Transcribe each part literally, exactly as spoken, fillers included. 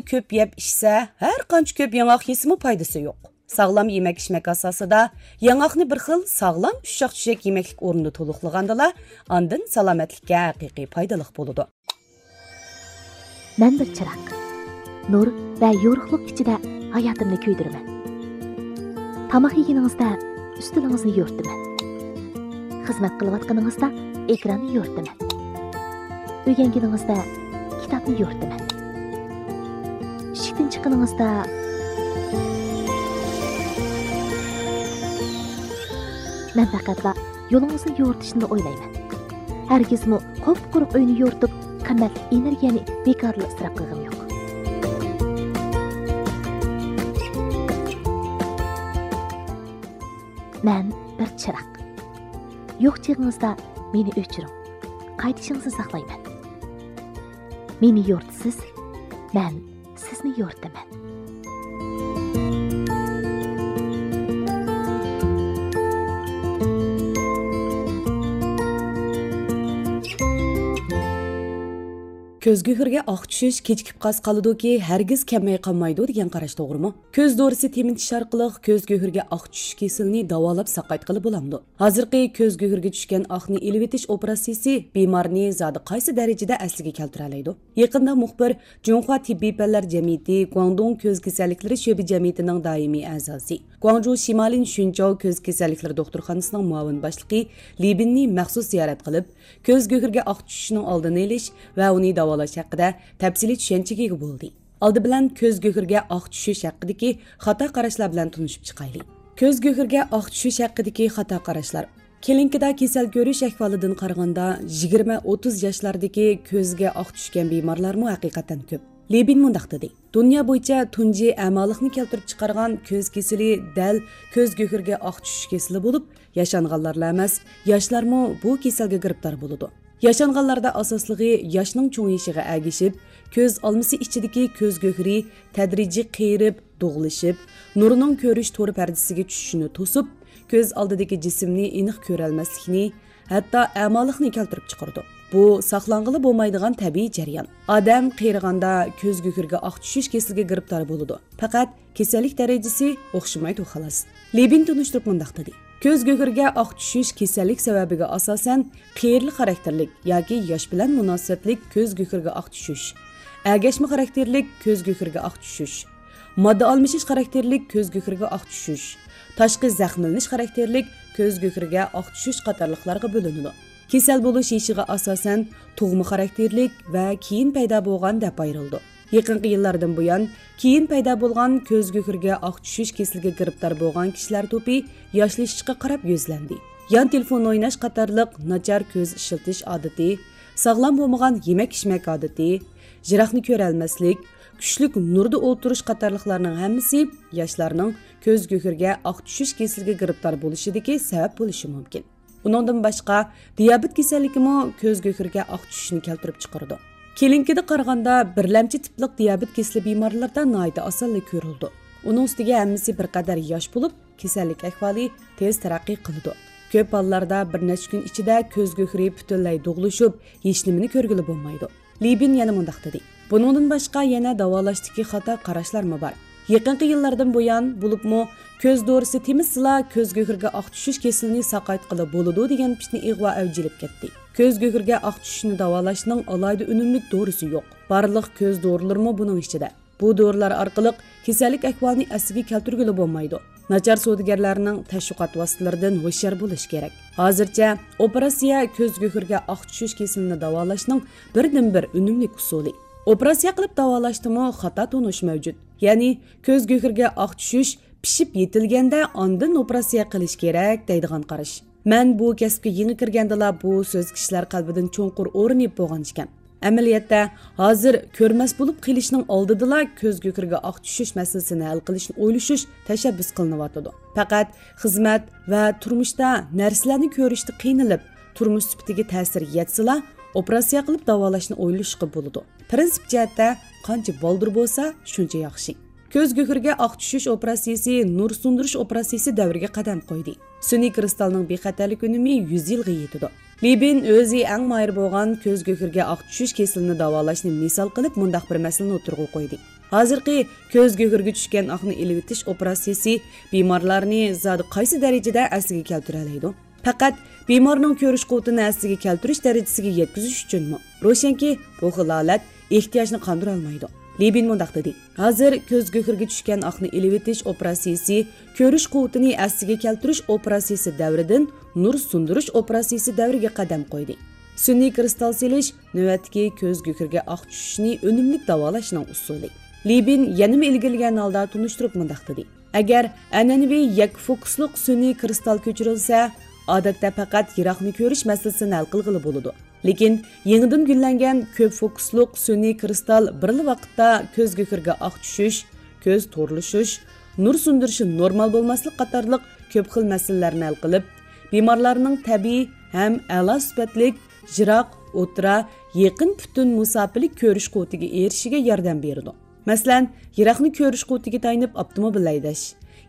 كۆپ يەپ ئىچسە، ھەر قانچە كۆپ ياڭاق يېسىمۇ پايدىسى يوق. ساغلام يېمەك-ئىچمەك ئاساسىدا ياڭاقنى بىر خىل ساغلام ئۇششاق-چۈشەك يېمەكلىك ئورنىدا تولۇقلىغاندىلا، ئاندىن سالامەتلىككە ھەقىقىي پايدىلىق بولىدۇ. مەن بىر چىراغ. نۇر ۋە يورۇقلۇق ئىچىدە ھاياتىمنى كۆيدۈرىمەن. تاماق يېگىنىڭىزدە ئۈستىلىڭىزنى يورۇتىمەن. خىزمەت قىلىۋاتقىنىڭىزدا ئېكراننى يورۇتىمەن. ئۆگەنگىنىڭىزدە كىتابنى يورۇتىمەن. ئىشىكتىن چىققىنىڭىزدا مەن پەقەتلا يولىڭىزنى يورۇتۇشنىلا ئويلايمەن. ھەرگىزمۇ قۇپقۇرۇق ئۆينى يورۇتۇپ، قىممەتلىك ئېنېرگىيەنى بىكارلا ئىسراپ قىلغىنىم يوق. مەن بىر چىراغ. يوق چېغىڭىزدا مېنى ئۆچۈرۈڭ. قايتىشىڭىزنى ساقلايمەن. مېنى يورۇتىسىز، مەن سىزنى يورۇتىمەن. كۆز گۆھىرىگە ئاق چۈشۈش كېچىكىپ قالسا قالىدۇكى، ھەرگىز كەلمەي قالمايدۇ دېگەن قاراش توغرىمۇ؟ كۆز دورىسى تېمىتىش ئارقىلىق كۆز گۆھىرىگە ئاق چۈشۈش كېسىلىنى داۋالاپ ساقايتقىلى بولامدۇ؟ ھازىرقى كۆز گۆھىرىگە چۈشكەن ئاقنى ئېلىۋېتىش ئوپېراتسىيىسى بىمارنى زادى قايسى دەرىجىدە ئەسلىگە كەلتۈرەلەيدۇ؟ يېقىندا مۇخبىر جۇڭخۇا تېببىي پەنلەر جەمئىيىتى گۇاڭدۇڭ كۆز كېسەللىكلىرى شۆبە جەمئىيىتىنىڭ دائىمىي ئەزاسى، گۇاڭجۇ شىمالىي شۈنچاۋ كۆز كېسەللىكلىرى دوختۇرخانىسىنىڭ مۇئاۋىن باشلىقى لى بىننى مەخسۇس زىيارەت قىلىپ، كۆز گۆھىرىگە ئاق چۈشۈشنىڭ ئالدىنى ئېلىش ۋە ئۇنى داۋالاش ھەققىدە تەپسىلىي چۈشەنچىگە ئىگە بولدى. ئالدى بىلەن كۆز گۆھىرىگە ئاق چۈشۈش ھەققىدىكى خاتا قاراشلار بىلەن تونۇشۇپ چىقايلى. كۆز گۆھىرىگە ئاق چۈشۈش ھەققىدىكى خاتا قاراشلار. كلىنىكىدا كېسەل كۆرۈش ئەھۋالىدىن قارىغاندا، يىگىرمە ئوتتۇز ياشلاردىكى كۆزگە ئاق چۈشكەن بىمارلارمۇ ھەقىقەتەن كۆپ. لى بىن مۇنداق دېدى: دۇنيا بويىچە تۇنجى ئەمالىقنى كەلتۈرۈپ چىقارغان كۆز كېسىلى دەل كۆز گۆھىرىگە ئاق چۈشۈش كېسىلى بولۇپ، ياشانغانلارلا ئەمەس، ياشلارمۇ بۇ كېسەلگە گىرىپتار بولىدۇ. ياشانغانلاردا ئاساسلىقى ياشنىڭ چوڭىيىشىغا ئەگىشىپ، كۆز ئالمىسى ئىچىدىكى كۆز گۆھىرى تەدرىجىي قېرىپ، دۇغلىشىپ، نۇرنىڭ كۆرۈش تور پەردىسىگە چۈشۈشىنى توسۇپ، كۆز ئالدىدىكى جىسىمنى ئېنىق كۆرەلمەسلىكنى، ھەتتا ئەمالىقنى كەلتۈرۈپ چىقىرىدۇ. بۇ ساقلانغىلى بولمايدىغان تەبىئىي جەريان. ئادەم قېرىغاندا كۆز گۆھىرىگە ئاق چۈشۈش كېسىلىگە گىرىپتار بولىدۇ. پەقەت كېسەللىك دەرىجىسى ئوخشىمايدۇ، خالاس. لى بىن تونۇشتۇرۇپ مۇنداق دېدى: كۆز گۆھىرىگە ئاق چۈشۈش كېسەللىك سەۋەبىگە ئاساسەن، قېرىلىق خاراكتېرلىك ياكى ياش بىلەن مۇناسىۋەتلىك كۆز گۆھىرىگە ئاق چۈشۈش، ئەگەشمە خاراكتېرلىك كۆز گۆھىرىگە ئاق چۈشۈش، ماددا ئالمىشىش خاراكتېرلىك كۆز گۆھىرىگە ئاق چۈشۈش، تاشقى زەخىملىنىش خاراكتېرلىك كۆز گۆھىرىگە ئاق چۈشۈش قاتارلىقلارغا بۆلۈنىدۇ. كېسەل بولۇش يېشىغا ئاساسەن، تۇغما خاراكتېرلىك ۋە كېيىن پەيدا بولغان دەپ ئايرىلىدۇ. يېقىنقى يىللاردىن بۇيان، كېيىن پەيدا بولغان كۆز گۆھىرىگە ئاق چۈشۈش كېسىلىگە گىرىپتار بولغان كىشىلەر توپى ياشلىشىشقا قاراپ يۈزلەندى. يان تېلېفون ئويناش قاتارلىق ناچار كۆز ئىشلىتىش ئادىتى، ساغلام بولمىغان يېمەك-ئىچمەك ئادىتى، يىراقنى كۆرەلمەسلىك، كۈچلۈك نۇردا ئولتۇرۇش قاتارلىقلارنىڭ ھەممىسى ياشلارنىڭ كۆز گۆھىرىگە ئاق چۈشۈش كېسىلىگە گىرىپتار بولۇشىدىكى سەۋەب بولۇشى مۇمكىن. ئۇنىڭدىن باشقا، دىيابېت كېسەللىكىمۇ كۆز گۆھىرىگە ئاق چۈشۈشنى كەلتۈرۈپ چىقىرىدۇ. كلىنىكىدا قارىغاندا، بىرلەمچى تىپلىق دىيابېت كېسىلى بىمارلىرىدا ناھايىتى ئاسانلا كۆرۈلىدۇ. ئۇنىڭ ئۈستىگە ھەممىسى بىر قەدەر ياش بولۇپ، كېسەللىك ئەھۋالى تېز تەرەققىي قىلىدۇ. كۆپ ھاللاردا بىر نەچچە كۈن ئىچىدە كۆز گۆھىرى پۈتۈنلەي دۇغلىشىپ، ھېچنېمىنى كۆرگىلى بولمايدۇ. لى بىن يەنە مۇنداق دېدى: بۇنىڭدىن باشقا يەنە داۋالاشتىكى خاتا قاراشلارمۇ بار. يېقىنقى يىللاردىن بۇيان، بولۇپمۇ كۆز دورىسى تېمىتسىلا كۆز گۆھىرىگە ئاق چۈشۈش كېسىلىنى ساقايتقىلى بولىدۇ دېگەن پىتنە ئىغۋا ئەۋج ئېلىپ كەتتى. كۆز گۆھىرىگە ئاق چۈشۈشنى داۋالاشنىڭ ئالاھىدە ئۈنۈملۈك دورىسى يوق. بارلىق كۆز دورىلىرىمۇ بۇنىڭ ئىچىدە. بۇ دورىلار ئارقىلىق كېسەللىك ئەھۋالىنى ئەسلىگە كەلتۈرگىلى بولمايدۇ. ناچار سودىگەرلەرنىڭ تەشۋىقات ۋاسىتىلىرىدىن ھوشيار بولۇش كېرەك. ھازىرچە ئوپېراتسىيە كۆز گۆھىرىگە ئاق چۈشۈش كېسىلىنى داۋالاشنىڭ بىردىنبىر ئۈنۈملۈك ئۇسۇلى. ئوپېراتسىيە قىلىپ داۋالاشتىمۇ خاتا تونۇش مەۋجۇت. يەنى كۆز گۆھىرىگە ئاق چۈشۈش پىشىپ يېتىلگەندە ئاندىن ئوپېراتسىيە قىلىش كېرەك دەيدىغان قاراش. مەن بۇ كەسىپكە يېڭى كىرگەندىلا بۇ سۆز كىشىلەر قەلبىدىن چوڭقۇر ئورۇن ئېلىپ بولغان ئىكەن. ئەمەلىيەتتە، ھازىر كۆرمەس بولۇپ قېلىشنىڭ ئالدىدىلا كۆز گۆھىرىگە ئاق چۈشۈش مەسىلىسىنى ھەل قىلىشنى ئويلىشىش تەشەببۇس قىلىنىۋاتىدۇ. پەقەت خىزمەت ۋە تۇرمۇشتا نەرسىلەرنى كۆرۈشتە قىينىلىپ، تۇرمۇش سۈپىتىگە تەسىر يەتسىلا، ئوپېراتسىيە قىلىپ داۋالاشنى ئويلىشىشقا بولىدۇ. پىرىنسىپ جەھەتتە قانچە بالدۇر بولسا، شۇنچە ياخشى. كۆز گۆھىرىگە ئاق چۈشۈش ئوپېراتسىيىسى نۇر سۇندۇرۇش ئوپېراتسىيىسى دەۋرىگە قەدەم قويدى. سۈنئىي كىرىستالنىڭ بىخەتەرلىك ئۈنۈمى يۈز يىلغا يېتىدۇ. لى بىن ئۆزى ئەڭ ماھىر بولغان كۆز گۆھىرىگە ئاق چۈشۈش كېسىلىنى داۋالاشنى مىسال قىلىپ مۇنداق بىر مەسىلىنى ئوتتۇرىغا قويدى. ھازىرقى كۆز گۆھىرىگە چۈشكەن ئاقنى ئېلىۋېتىش ئوپېراتسىيىسى بىمارلارنى زادى قايسى دەرىجىدە ئەسلىگە كەلتۈرەلەيدۇ؟ پەقەت بىمارنىڭ كۆرۈش قۇۋۋىتىنى ئەسلىگە كەلتۈرۈش دەرىجىسىگە يەتكۈزۈش ئۈچۈنمۇ؟ روشەنكى، بۇ خىل ھالەت ئېھتىياجنى قاندۇرالمايدۇ. لېبىن مۇنداق دېدى: ھازىر كۆز گۆھىرىگە چۈشكەن ئاقنى ئېلىۋېتىش ئوپېراتسىيىسى كۆرۈش قۇۋۋىتىنى ئەسلىگە كەلتۈرۈش ئوپېراتسىيىسى دەۋرىدىن نۇر سۇندۇرۇش ئوپېراتسىيىسى دەۋرىگە قەدەم قويدى. سۈنئىي كىرىستال سېلىش نۆۋەتتىكى كۆز گۆھىرىگە ئاق چۈشۈشنى ئۈنۈملۈك داۋالاشنىڭ ئۇسۇلى. لېبىن يەنىمۇ ئىلگىرىلىگەن ھالدا تونۇشتۇرۇپ مۇنداق دېدى: ئەگەر ئەنئەنىۋى يەككە فوكۇسلۇق سۈنئىي كىرىستال كۆچۈرۈلسە، ئادەتتە پەقەت يىراقنى كۆرۈش مەسىلىسىنى ھەل قىلغىلى بولىدۇ. لېكىن يېڭىدىن گۈللەنگەن كۆپ فوكۇسلۇق سۈنئىي كىرىستال بىرلا ۋاقىتتا كۆز گۆھىرىگە ئاق چۈشۈش، كۆز تورلىشىش، نۇر سۇندۇرۇشى نورمال بولماسلىق قاتارلىق كۆپ خىل مەسىلىلەرنى ھەل قىلىپ، بىمارلارنىڭ تەبىئىي ھەم ئەلا سۈپەتلىك يىراق، ئوتتۇرا، يېقىن پۈتۈن مۇساپىلىك كۆرۈش قۇۋۋىتىگە ئېرىشىشىگە ياردەم بېرىدۇ. مەسىلەن، يىراقنى كۆرۈش قۇۋۋىتىگە تايىنىپ ئاپتوموبىل ھەيدەش،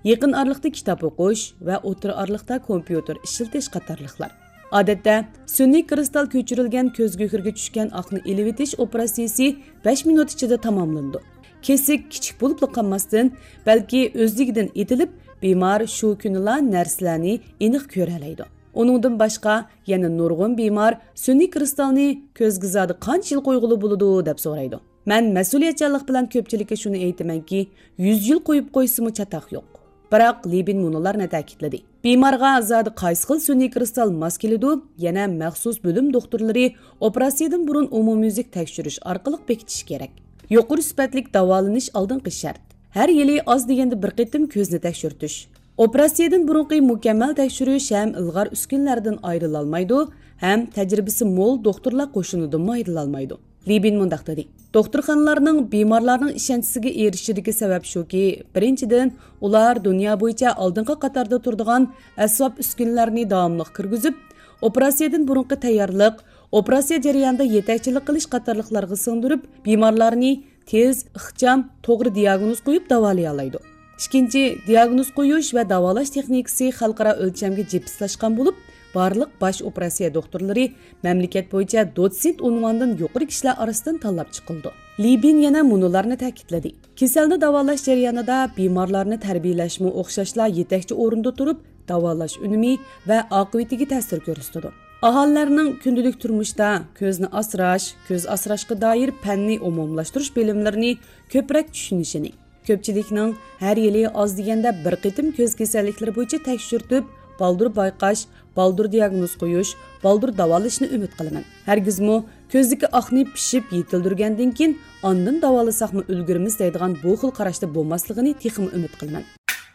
يېقىن ئارىلىقتا كىتاب ئوقۇش ۋە ئوتتۇرا ئارىلىقتا كومپيۇتېر ئىشلىتىش قاتارلىقلار. ئادەتتە، سۈنئىي كىرىستال كۆچۈرۈلگەن كۆز گۆھىرىگە چۈشكەن ئاقنى ئېلىۋېتىش ئوپېراتسىيىسى بەش مىنۇت ئىچىدە تاماملىنىدۇ. كېسىك كىچىك بولۇپلا قالماستىن، بەلكى ئۆزلۈكىدىن ئېتىلىپ، بىمار شۇ كۈنىلا نەرسىلەرنى ئېنىق كۆرەلەيدۇ. ئۇنىڭدىن باشقا، يەنە نۇرغۇن بىمار سۈنئىي كىرىستالنى كۆزگە زادى قانچە يىل قويغىلى بولىدۇ، دەپ سورايدۇ. مەن مەسئۇلىيەتچانلىق بىلەن كۆپچىلىككە شۇنى ئېيتىمەنكى، يۈز يىل قويۇپ قويسىمۇ چاتاق يوق. بىراق لېبىن مۇنۇلارنى تەكىتلىدى: بىمارغا زادى قايسى خىل سۈنئىي كىرىستال ماس كېلىدۇ؟ يەنە مەخسۇس بۆلۈم دوختۇرلىرى ئوپېراتسىيەدىن بۇرۇن ئومۇميۈزلۈك تەكشۈرۈش ئارقىلىق بېكىتىشى كېرەك. يۇقىرى سۈپەتلىك داۋالىنىش ئالدىنقى شەرت. ھەر يىلى ئاز دېگەندە بىر قېتىم كۆزنى تەكشۈرتۈش. ئوپېراتسىيەدىن بۇرۇنقى مۇكەممەل تەكشۈرۈش ھەم ئىلغار ئۈسكۈنىلەردىن ئايرىلالمايدۇ، ھەم تەجرىبىسى مول دوختۇرلار قوشۇنىدىنمۇ ئايرىلالمايدۇ. لېبىن مۇنداق دېدى: دوختۇرخانىلارنىڭ بىمارلارنىڭ ئىشەنچىسىگە ئېرىشىشىدىكى سەۋەب شۇكى، بىرىنچىدىن، ئۇلار دۇنيا بويىچە ئالدىنقى قاتاردا تۇرىدىغان ئەسۋاب ئۈسكۈنىلەرنى داۋاملىق كىرگۈزۈپ، ئوپېراتسىيەدىن بۇرۇنقى تەييارلىق، ئوپېراتسىيە جەريانىدا يېتەكچىلىك قىلىش قاتارلىقلارغا سىڭدۈرۈپ، بىمارلارنى تېز، ئىخچام، توغرا دىياگنوز قويۇپ داۋالىيالايدۇ. ئىككىنچى، دىياگنوز قويۇش ۋە داۋالاش تېخنىكىسى خەلقئارا ئۆلچەمگە جىپسلاشقان بولۇپ، بارلىق باش ئوپېراتسىيە دوختۇرلىرى مەملىكەت بويىچە دوتسېنت ئۇنۋاندىن يۇقىرى كىشىلەر ئارىسىدىن تاللاپ چىقىلىدۇ. لېبىن يەنە مۇنۇلارنى تەكىتلىدى: كېسەلنى داۋالاش جەريانىدا بىمارلارنى تەربىيەلەشمۇ ئوخشاشلا يېتەكچى ئورۇندا تۇرۇپ، داۋالاش ئۈنۈمى ۋە ئاقىۋىتىگە تەسىر كۆرسىتىدۇ. ئاھالىلەرنىڭ كۈندىلىك تۇرمۇشتا كۆزنى ئاسراش، كۆز ئاسراشقا دائىر پەننى ئومۇملاشتۇرۇش بىلىملىرىنى كۆپرەك چۈشىنىشىنى، كۆپچىلىكنىڭ ھەر يىلى ئاز دېگەندە بىر قېتىم كۆز كېسەللىكلىرى بويىچە تەكشۈرتۈپ، بالدۇر بايقاش، بالدۇر دىياگنوز قويۇش، بالدۇر داۋالىشىنى ئۈمىد قىلىمەن. ھەرگىزمۇ كۆزدىكى ئاقنى پىشىپ يېتىلدۈرگەندىن كېيىن، ئاندىن داۋالىساقمۇ ئۈلگۈرىمىز دەيدىغان بۇ خىل قاراشتا بولماسلىقىنى تېخىمۇ ئۈمىد قىلىمەن.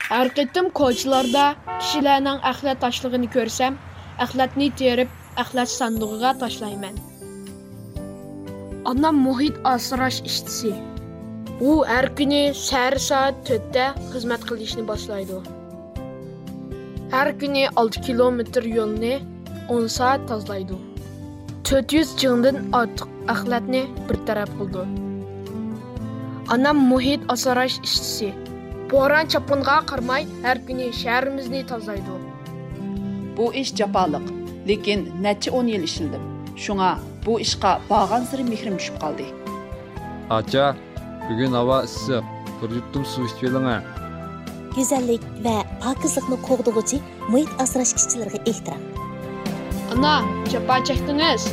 ھەر قېتىم كوچىلاردا كىشىلەرنىڭ ئەخلەت تاشلىغىنى كۆرسەم، ئەخلەتنى تېرىپ، ئەخلەت ساندۇقىغا تاشلايمەن. ئانام مۇھىت ئاسراش ئىشچىسى. ئۇ ھەر كۈنى سەھەر سائەت تۆتتە خىزمەت قىلىشنى باشلايدۇ. ھەر كۈنى ئالتە كىلومېتىر يولنى ئون سائەت تازىلايدۇ. تۆت يۈز چىڭدىن ئارتۇق ئەخلەتنى بىر تەرەپ قىلىدۇ. ئانام مۇھىت ئاسراش ئىشچىسى. بوران-چاپقۇنغا قارىماي، ھەر كۈنى شەھىرىمىزنى تازىلايدۇ. بۇ ئىش جاپالىق، لېكىن نەچچە ئون يىل ئىشلىدىم. شۇڭا بۇ ئىشقا بارغانسېرى مېھرىم چۈشۈپ قالدى. ئاچا، بۈگۈن ھاۋا ئىسسىق، بىر يۇتۇم سۇ ئىچىۋېلىڭە. گۈزەللىك ۋە پاكىزلىقنى قوغدىغۇچى مۇھىت ئاسراش ئىشچىلىرىغا ئېھتىرام. ئانا، جاپا چەكتىڭىز.